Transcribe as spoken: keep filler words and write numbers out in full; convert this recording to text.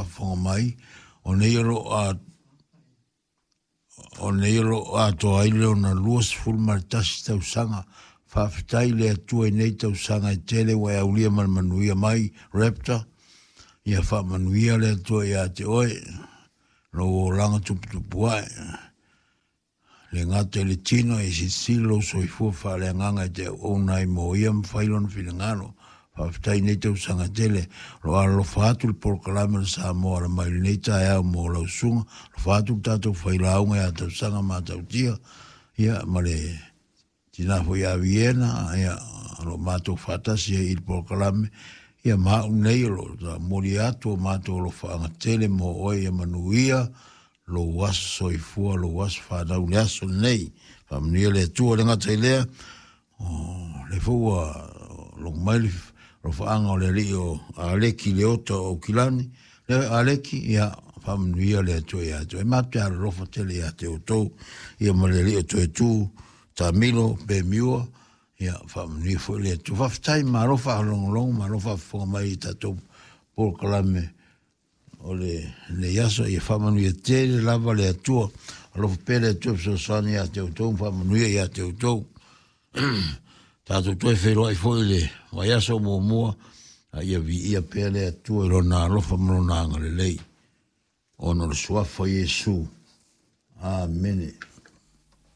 faafofoga mai, o nei o loo a o nei o loo atoa ai le ona lua sefulu ma le tasi tausaga. Faafetai le Atua i nei tausaga e tele ua e aulia ma le manuia mai, Raptor. Ia faamanuia le Atua ia te oe, lou olaga tuputupu ae. Le gata i le tino e silisili lou soifua faaleagaga e te auauna ai mo ia ma fai lona finagalo. Faafetai nei tausaga tele. O lo alolofa atu le polokalame o le Samoa Ala Mai i lenei taeao mo lau susuga. Alofa atu le tatou failauga ia Tausaga Matautia, ia ma le tina foi ia Viena, ia o lo o matou faatasi ai i le polokalame. Ia ma au nei o lo o momoli atu o matou alofaaga tele mo oe, ia manuia lou aso soifua, lou aso fanau le aso lenei. Faamanuia le Atua. Le gata i lea, o le foi ua logo mai le alofaaga o le alii o Aleki Leota o Aukilani. Le Aleki, ia faamanuia le Atua ia te oe. Matou te alolofa tele ia te outou, ia ma le alii o Toetu, Tamilo, Pemiua, ia faamanuia foi le Atua. Faafetai, malo faalogologo, malo faafofoga mai i tatou polokalame o lenei aso. Ia faamanuia tele lava le Atua. Alofa pea le Atua fesoasoani ia te outou ma faamanuia ia te outou. Tatou toe feiloai foi le vaiaso muamua, a ia viia pea le Atua i lona alofa ma lona agalelei, ona o le suafa o Iesu. Amene.